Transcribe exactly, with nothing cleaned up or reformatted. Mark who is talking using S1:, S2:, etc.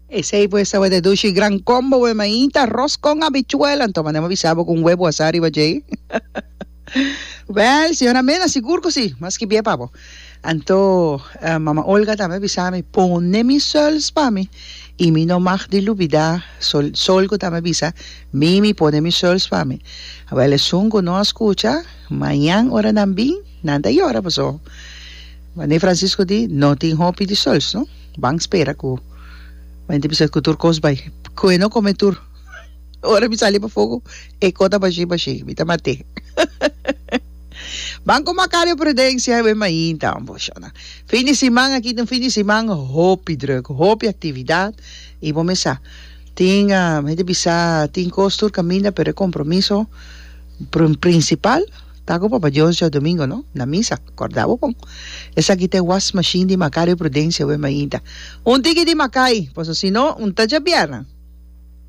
S1: Esey pues tabata e dushi gran combo we mainta arroz con habichuela anto manda mi bisa bo con huevo asa riba djey. Wel señora Mena sigur cu si mas ki bie pa bo. Anto mama Olga tambe a bisa mi pone mi suls pa mi y mi no mag di lubida sol sol cu tambe a bisa mimi pone mi suls pa mi. Wel esun cu no a scucha mañan ora nan bin nan ta yora paso Mane Francisco di no tin hopi di suls no. Ban spera cu Mente bisa cu tur cos bay. Cu e no come tur. Ora mi sali pafó cu e co ta bashi bashi. Mi ta mat'é. Ban cu Macario Prudencia e mainta hombo shona. Fin di siman aki ta un fin di siman hopi druk, hopi actividad y bo mes sa tin hende bisa tin cos tur caminda pero e compromiso principal Ta ku Papa Dios djadomingo no, na misa, kòrda bo bon. Esaki ta e wasmashin di Macario Prudencia we mainta. Un tiki di Macay, paso si no, un ta djabièrnè.